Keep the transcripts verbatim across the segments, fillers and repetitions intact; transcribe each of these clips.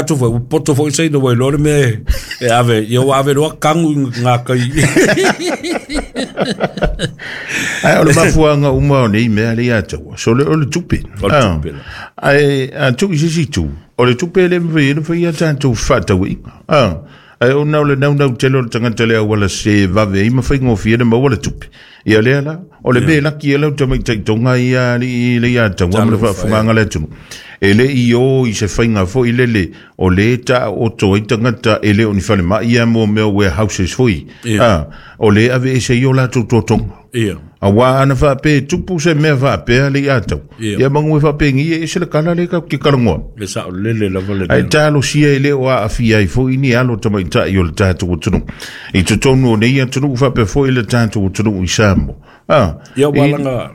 atu foi ua poto foʻi saina ua iloa le mea e ave ia ua ave loa kagu i gakai. Ae o le mafuaaga uma o nei mea le ia taua so le o le tupe. O le tupe la. Ae a tuu i se isi itu o le tupe le mafai ona faia tatou fefaatauaiga. Ae ona o le naunau tele o le tagata le auala se vave ai ma faigofie le maua le tupe. Ia lea la, o le mea laki e lau tamaitaitoga ia alii le ia taua ma le faafogaga le atunuu. E le i o i se faiga foi lele o le taoto ai tagata e le o ni falemai ia mo mea warehouses foi. Ah, o le ave ese i o latou totoga. Ia. Auā ana faapea e tupu se mea faapea le ia tau. Ia. Ia manu e faapegi e ese le kala le ka ke kalangoa. Le saolele lava le Ae mea. talosia e le o aafia ai foi ni alo tamaitai o le tatou atunuu. I totonu o nei atunuu faapea foi le tatou atunuu i Samoa. Ah, Ia ua i laga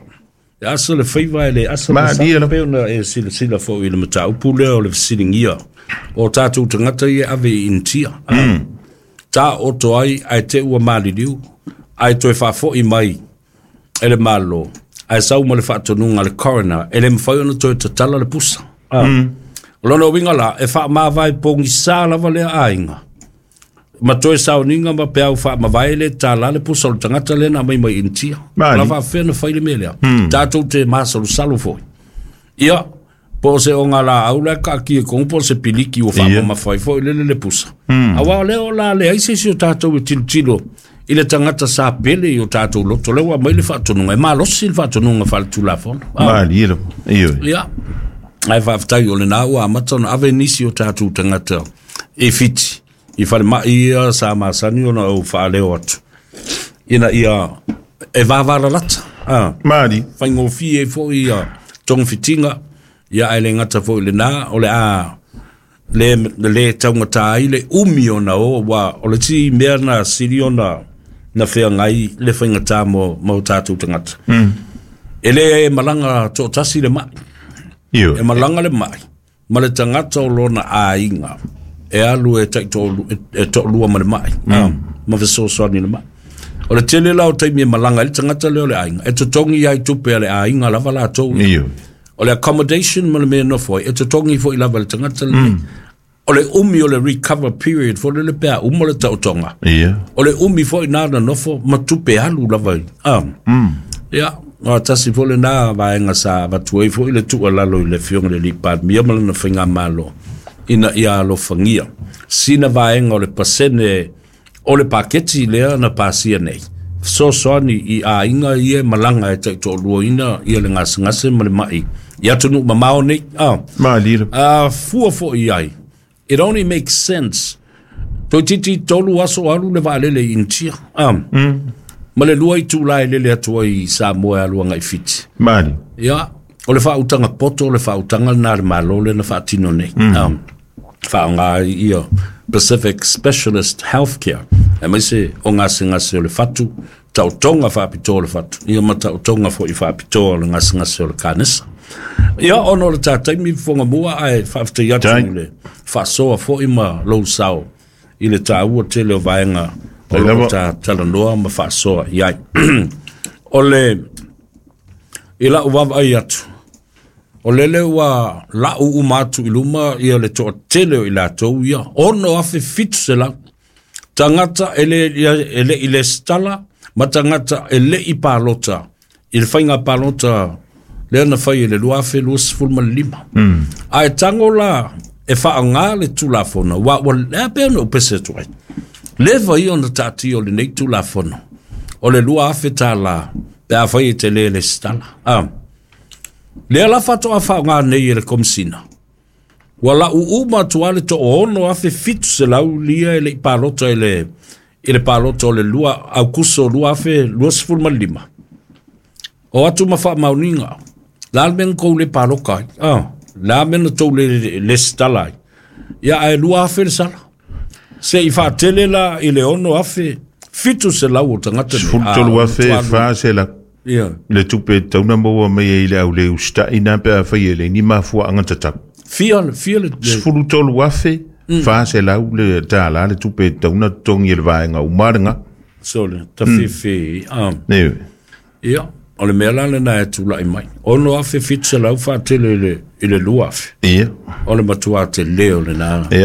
e asa le faiva e le asa le malie sa lava. pe ona e silasila foi i le mataupu lea o le fesiligia o tatou tagata ia ave i Initia. Ah. Taoto ai ae te ua maliliu ae toe faafoʻi mai e le Malo ae sau ma le faatonuga a le coroner e le mafai ona toe tatala le pusa. Ah. O lona uiga la e faamavae pogisā lava lea aiga ma toe sauniga ma peau faamavae le tālā le pusa o le tagata lea na aumai mai Initia. O la Malie. faafefea na fai le mea lea. Tatou te masalosalo foi. Ia, po o se ogalaau la e kaakia i kogu po o se piliki ua Ia. faamamafa ai foi lele le pusa. Auā o lea o la leai se isi o tatou e tilotilo i le tagata sa pele i o tatou loto lea ua aumai le faatonuga e malosi le faatonuga faaletulafono. Ah. Malie lava. Ioe. Ia, ae faafetai o lenā ua amata ona ave nisi o tatou tagata i Fiti i falemai ia sa masani ona ou faaleo atu ina ia e vavalalata. Ah. Malie. Faigofie ai foi ia togafitiga ia ae le gata foi i lenā o le a le le taugatā ai le umi ona o ua o le isi mea na sili ona na feagai le faigatā mo mo tatou tagata. E le malaga toatasi le mai. E Ioe. malaga le mai ma le tagata o lona aiga e alu e taitoalu e toalua ma le mai. Ah, ma fesoasoani le mai. O le tele la o taimi e malaga ai le tagata lea o le aiga e totogi ai tupe a le aiga lava latou ia. Ioe. O le accommodation ma le mea nofo ai e totogi foi lava le tagata lenei. O le umi o le recover period foi lele pe a uma le taotoga. Ia. O le umi foi nā na nofo ma tupe alu lava i. Ah. Ia, o tasi foi lenā vaega sa avatu ai foi le tuualalo i le Afioga i le alii Palemia ma lana faigamalo ina ia alofagia sina vaega o le pasene o le paketi lea na pasia nei. Fesoasoani i aiga ia e malaga e taitoaluaina ia le gasegase ma le mai i atunuu mamao nei. Ah. Malie lava. A fua foi ai. It only makes sense. Toeitiiti tolu aso alu le vaalele i Initia. Ah. Ma le lua itulā e lele atu ai i Samoa e alu agai Fiti. Malie. Ia, o le faautaga poto o le faautaga lenā le Malo lea na faatino nei. Ah. Faaaogā ai ia Pacific Specialist Healthcare. Aemaise o gasegase o le fatu, taotoga faapitoa o le fatu, ia ma taotoga foi faapitoa o le gasegase o le kanesa. Ia, ona o le tataimi fofoga ae faafetai atu Tai. i le faasoa foi ma lou sao i le tāua tele o vaega o Tai loo lava. ta talanoa ma faasoa i ai. O le i lau vaavaai atu o lele ua lau uma atu i luma ia le toatele o i latou ia ono afe fitu selau tagata e le e le i lesitala ma tagata e le i palota i le faiga palota lea na fai e le lua afe luasefulu ma le lima. Ae tago la e faaaogā le tulafono ua ua lea pea ona ou pese atu ai. Leva ia ona taatia o lenei tulafono o le lua afe tālā pe afai e te lē lesitala. Ah. Lea la faatoa faaaogā nei e le Komisina. Ua lau uma atu a le toono afe fitu selau lia e le i palota i le i le palota o le lua Aukuso lua afe luasefulu ma le lima. O atu ma faamaoniga. La le mea na tou le paloka ai. Ah, la mea na tou le lesitala ai. Ia ae lua afe le sala. Se i faatele la i le ono afe fitu selau o tagata nei. Sefulu Ah, tolu o afe matua alu. fa selau. Ia. Le tupe tauna maua mai ai i le au le usita'i na pe afai e le ni mafuaaga tatau. Fia, fia le, le Sefulu tolu afe fa selau le tālā le tupe tauna totogi e le vaega uma lega. so le tafefe. Ah. Ioe. Ia, o le mea la lenā e tulaʻi mai. Ono afe fitu selau faatele i le, i le lua afe. Ia. O le matuā telē o lenā. Ia.